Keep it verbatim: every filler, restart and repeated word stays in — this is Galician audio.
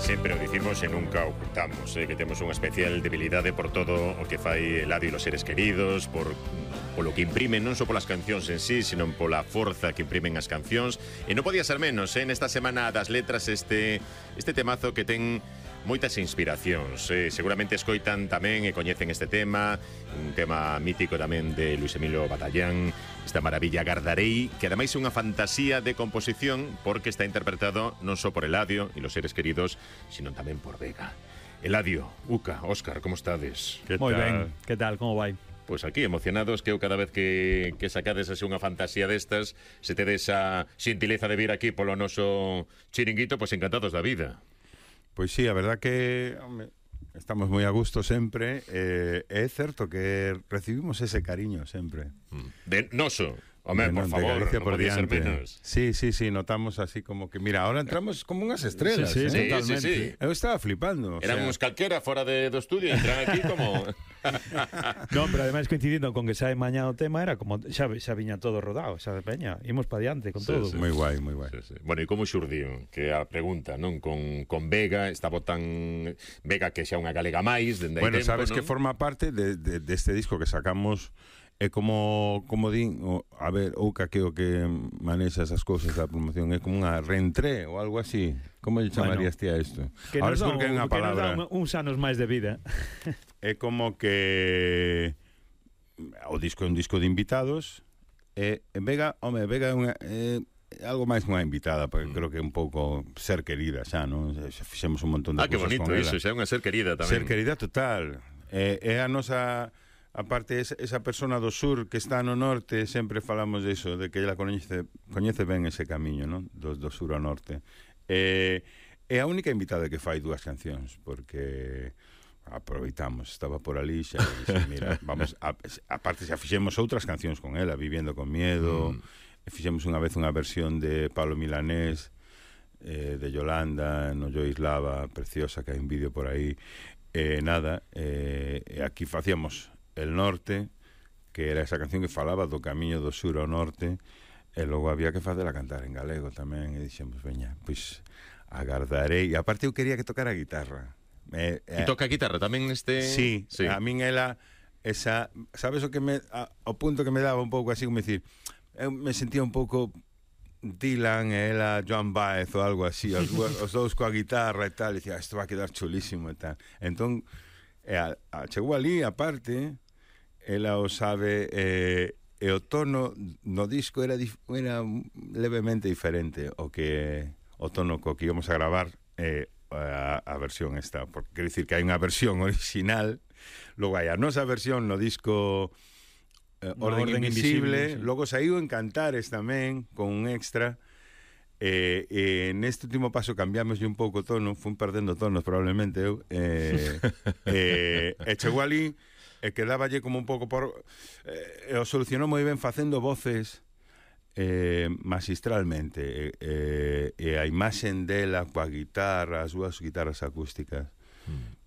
Sempre o dicimos e nunca ocultamos, eh, que temos unha especial debilidade por todo o que fai Eladio e los seres queridos, por polo que imprimen non só polas cancións en sí, sino pola forza que imprimen as cancións. E non podía ser menos, eh, nesta semana das letras este este temazo que ten moitas inspiracións. Eh, seguramente escoitan tamén e coñecen este tema, un tema mítico tamén de Luis Emilio Batallán, esta maravilla Gardarei, que ademais é unha fantasía de composición porque está interpretado non só por Eladio e los seres queridos, sino tamén por Vega. Eladio, Uca, Óscar, como estades? Moi ben, que tal, como vai? Pois pues aquí, emocionados, que eu cada vez que, que sacades así unha fantasía destas, se tedes a xentileza de vir aquí polo noso chiringuito, pois pues encantados da vida. Pois sí, a verdad que home, estamos moi a gusto sempre. eh, É certo que recibimos ese cariño sempre. De noso. Home, por favor, non podía ser menos. Sí, sí, sí, notamos así como que... Mira, ahora entramos como unhas estrelas. Sí, sí, ¿eh? totalmente. Sí, sí, sí. Eu estaba flipando. Éramos o sea... calquera fora de, do estudio, entran aquí como... Non, pero ademais coincidindo con que sae mañá o tema, era como xa, xa viña todo rodado, xa de peña, imos pa diante con Sí, todo. sí. Moi guai, moi guai. Sí, sí. Bueno, e como xurdiu? Que a pregunta, non? Con, con Vega, estaba tan... Vega que xa unha galega máis, dende hai Bueno, tempo, sabes non? que forma parte de, de, de este disco que sacamos. É como, como din, o, a ver, Ouca, que o que manexa esas cousas da promoción, é como unha reentré ou algo así. Como lle chamarías ti a isto? Que Ahora nos dá, porque é unha que nos palabra. dá uns anos máis de vida. É como que o disco é un disco de invitados e en Vega, home, Vega é unha é algo máis unha invitada, porque mm. creo que é un pouco ser querida xa, non? Xa fixemos un montón de Ah, que cousas bonito con iso, ela. xa é unha ser querida tamén. Ser querida total. É, é a nosa... Aparte, esa, esa persona do sur que está no norte, sempre falamos de iso, de que ela coñece, coñece ben ese camiño, non? Do, do sur ao norte. É, é a única invitada que fai dúas cancións, porque aproveitamos, estaba por ali xa e dixe, mira, vamos, a, aparte xa fixemos outras cancións con ela, Viviendo con Miedo, mm. fixemos unha vez unha versión de Pablo Milanés, eh, de Yolanda, no Yo Islava, preciosa, que hai un vídeo por aí, e eh, nada, eh, aquí facíamos El Norte, que era esa canción que falaba do camiño do sur ao norte, e logo había que facela cantar en galego tamén, e dixemos, veña, pois agardarei, e aparte eu quería que tocara a guitarra. E eh, toca a guitarra tamén este... Sí, sí, a min ela, esa, sabes o que me, a, o punto que me daba un pouco así, como decir, eu me sentía un pouco Dylan e ela Joan Baez ou algo así, os, os dous coa guitarra e tal, e dicía, isto va a quedar chulísimo e tal. Entón, e a, a, chegou ali, aparte... Ela o sabe, eh, e o tono no disco era, dif, era levemente diferente o que o tono co que íbamos a gravar eh, a, a versión esta, porque quer dicir que hai unha versión original, logo hai a nosa versión no disco eh, Orden, Orden Invisible, Invisible sí. Logo saiu en Cantares tamén con un extra. E eh, eh, neste último paso cambiamos un pouco o tono, fun perdendo tonos probablemente eu, eh, eh, e chegou ali e quedáballe como un pouco por... Eh, e o solucionou moi ben facendo voces eh, magistralmente, eh, e a imaxen dela coa guitarra, as súas guitarras acústicas, mm.